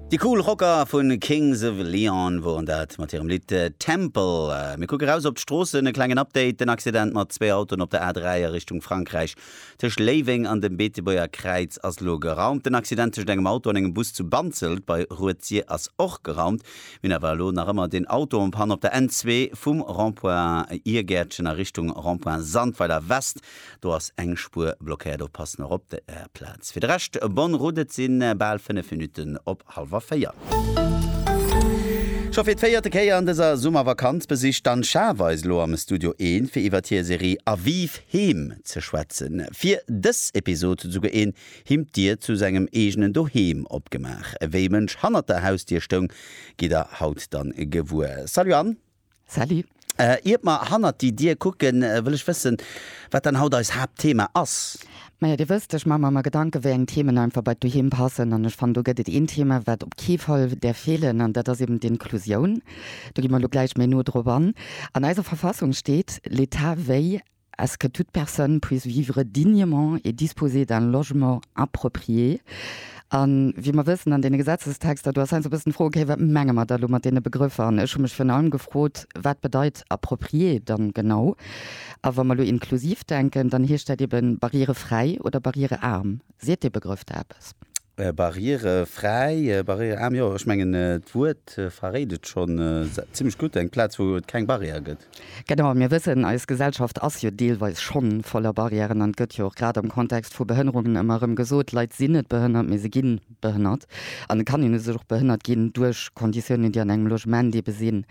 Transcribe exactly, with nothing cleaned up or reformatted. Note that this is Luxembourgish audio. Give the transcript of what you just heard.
Déi cool Rocker vu Kings of Leon woren dat mat hirem Lidd Temple. Mir kucke raus op d'Stroossen, e klengen Update, Den Accident mat zwee Autoen op der A dräi a Richtung Frankräich tëscht Léiweng an dem Beetebuerger Kräiz ass elo geraumt. Den Accident tëscht engem Auto an engem Bus zu Banzelt bei Rued-Sir ass och geraumt. Mir hunn awer elo nach ëmmer den Auto en panne op der N zwee vum Rond-point Irgäertchen a Richtung Rond-point Sandweiler West. Do ass eng Spuer blockéiert, oppassen och op der Plaz. Fir de Rescht bonne route, et si bal fënnef Minutten op hallwer véier. Scho fir d'véierte Kéier an dëser Summervakanz besicht d'Anne Schaaf eis elo am Studio Eent, fir iwwert hir Serie Aviv Heem ze schwätzen. Fir dës Episod huet esouguer een him d'Dier zu sengem eegenen Doheem opgemaach. Wéi e Mënsch hannert der Hausdier stoung, gitt der haut dann gewuer. Salut Anne! Salut! Iert mer hannert déi Dier kucken, wëll ech wëssen, wat dann haut eis Haaptthema ass. Maja, Dir wësst, ech maache mer ëmmer Gedanken, wéi eng Themen einfach bei d'Doheem passen. An ech fannen, do gëtt et een Thema, wat op kee Fall däerf feelen, an dat ass eben d'Inklusioun. Do gi mer elo gläich méi no drop an. An eiser Verfassung steet, L'État veille à ce que toute personne puisse vivre dignement et disposer d'un logement approprié. A wéi mer wëssen, an deene Gesetzestexter, do ass heiansdo e bëssen d'Fro, okay, wat menge mer da elo mat deene Begrëffer? An ech hu mech virun allem gefrot, wat bedeit approprié dann genau? A wa mer elo inklusiv denken, dann heescht dat eben barrierefräi oder barrierearm. Seet dee Begrëff der eppes? Barrierefräi, barrierearm, jo, ech mengen d'Wuert verréit et schonn zimmlech gutt, eng Plaz, wou et keng Barrière gëtt. Genau, mir wëssen, eis Gesellschaft ass jo deelweis schonn voller Barrièren an et gëtt jo och grad am Kontext vu Behënnerungen ëmmer erëm gesot, Leit sinn net behënnert, mee se gi behënnert. An et kann een u sech och behënnert ginn duerch Konditiounen, déi an engem Logement ebe sinn.